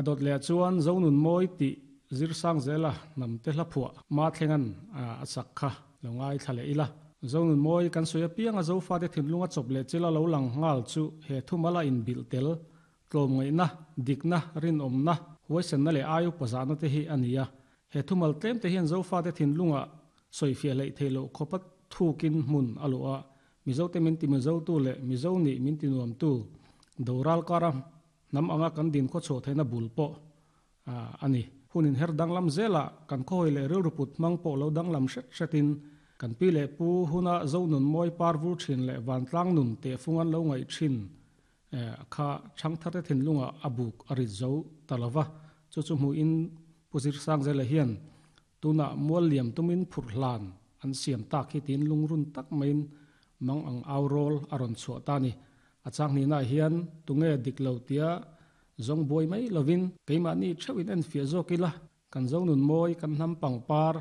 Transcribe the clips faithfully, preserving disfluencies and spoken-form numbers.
A dawt leh chuan Zonun Mawi tih zir sang zela nam te hla phuah ma thlengan a sak kha lo ngai thla leh ila. Zonun Mawi kan sawi apianga Zofa te thinlunga chawp leh chila lo lang nghal chu he thumala in bil tel tlawm ngaihna dikna rinawmna huaisenna leh ayu pazana te hi ania. He thumal tlem te hian Zofa te thinlunga sawi fiah leh theilo khopat thukin hmun aloa Mizo te min ti Mizo tu leh Mizo ni min ti nuam tu doral kara nam anga kan din kho chho theina bul pawh ani. Hunin her danglam zela kan khoi leh rilruput mang pawh lo danglam hret hretin kan pi leh pu huna Zonun Mawi par vur thin leh vantlang nun te fungan lo ngai thin kha changthar te thinlunga abuk ari zo talova chu chu mu in puzir sang zela hian tuna mual liam tumin phur hlan an siam tak hi tin lungrun tak main mang ang aurol aron chhuah ta ni. A chang ni na hian tunge diklo tia zong buai mai lovin keima ni theuhin en fia zawk ila kan Zonun Mawi kan hnam pangpar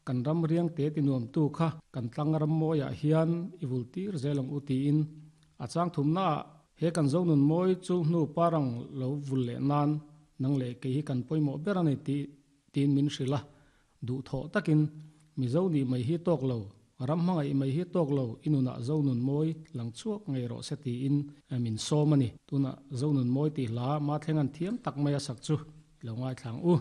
kan ram riang te ti nuam tu kha kan tlang ram mawia hian iwul tir zelang uti in a chang thum na he kan Zonun Mawi chu hnu parang lo vul le nan nang le ke hi kan poimo berani ti tin min hrila du tho takin Mizo ni mai hi tok lo ram hmangai mai hi tok lo inuna Zonun Mawi lang chuak ngei ro se ti in min somani tuna Zonun Mawi ti hla ma thlengan thiam tak mai a sak chu lo ngai thlang u.